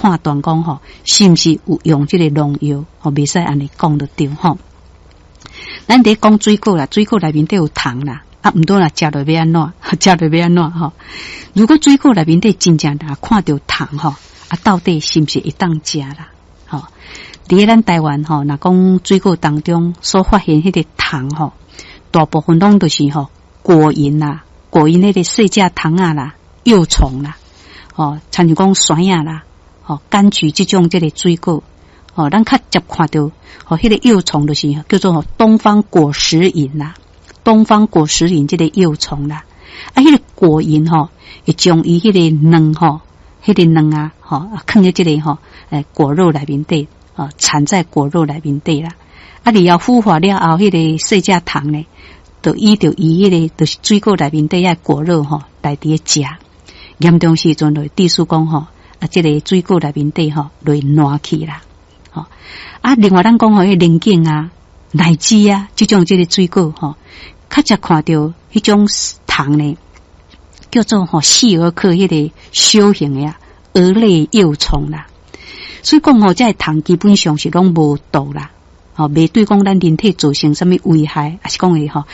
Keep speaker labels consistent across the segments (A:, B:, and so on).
A: 判斷講吼，是毋是有用這個農藥，吼，袂使按呢講就對吼。咱佇講水果啦，水果內面底有糖啦，啊，毋過若食落欲按怎？食落欲按怎吼？如果水果內面底真正若看著糖吼，啊，到底是毋是會當食啦？吼，佇咧咱台灣吼，若講水果當中所發現彼個糖吼，大部分攏就是吼果蠅啦，果蠅彼個細隻蟲仔啦，幼蟲啦，吼，親像講山仔啦，吼，柑橘這種這個水果，吼，咱較捷看著吼，彼個幼蟲就是叫做吼東方果實蠅啦，東方果實蠅這個幼蟲啦，啊，彼個果蠅吼，會將伊彼個卵吼，彼個卵啊，吼，囥佇這個吼，果肉內面底，哦，產在果肉內面底啦。啊，然後孵化了後，彼個細隻蟲呢，就依著伊彼個就是水果內面底遐果肉吼，來佇咧食。嚴重時陣就會致使講吼，啊，這個水果內面底吼，就會爛去啦。吼，啊，另外咱講吼，彼個龍井啊、荔枝啊，這種這個水果吼，較捷看著彼種蟲呢，叫做吼細蛾科彼個小型的啊蛾類幼蟲啦。所以講吼，這個蟲基本上是攏無毒啦，吼，袂對講咱人體造成啥物危害，抑是講會吼，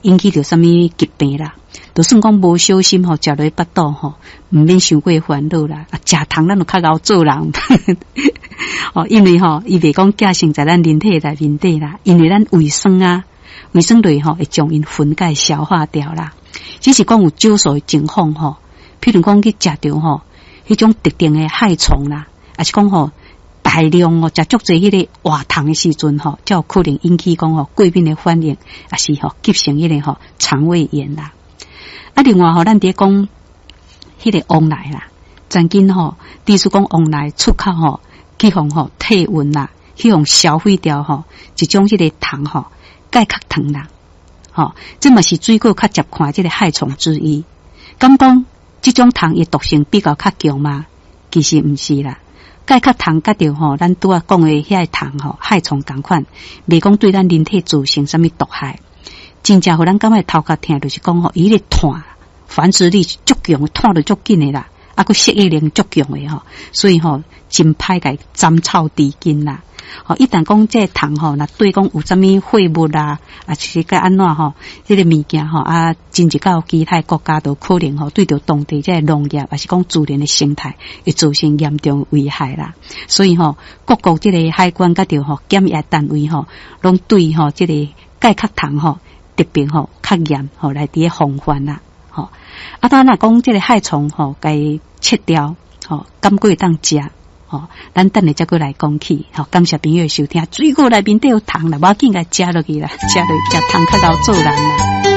A: 引起著啥物疾病啦。就算講無小心吼，食落腹肚吼，毋免傷過煩惱啦。啊，食糖咱就較𠢕做人，哦，因為吼，伊袂講寄生在咱人體內面底啦，因為咱胃酸啊，胃酸類吼會將𪜶分解消化掉啦。只是講有少數的情況吼，譬如講去食著吼，彼種特定的害蟲啦，抑是講吼大量哦食足濟彼個活蟲的時陣吼，才有可能引起講吼過敏的反應，抑是吼急性彼個吼腸胃炎啦。啊，另外吼，咱佇咧講彼個黃梨啦，曾經吼，致使講黃梨出口吼，去予吼退運啦，去予銷毀掉吼，一種彼個蟲吼介殼糖啦，吼，這嘛是水果較捷看這個害蟲之一。敢講這種蟲伊毒性比較較強嗎？其實毋是啦。介殼蟲佮著吼，咱拄仔講的遐個蟲吼，害蟲仝款，袂講對咱人體造成啥物毒害。真正予咱感覺頭殼疼，就是講吼，伊彼個湠繁殖力足強，湠得足緊的啦，啊，閣適應力足強的吼，所以吼真歹共斬草除根啦。吼，一旦講這個蟲吼，若對講有啥物廢物啦，啊，是該按怎吼，這個物件吼，啊，進入到其他國家都可能吼，對著當地這個農業，抑是講自然的生態，會造成嚴重危害啦。所以吼，各國這個海關佮著吼檢疫單位吼，攏對吼這個介殼蟲吼特別吼較嚴吼來佇咧防範啦。吼，啊，當若講這個害蟲吼，共切掉吼，敢閣會當食？吼，咱等下才閣來講起。吼，感謝朋友的收聽，水果內面底有糖啦，無要緊，共食落去啦，食落食糖較𠢕做人啦。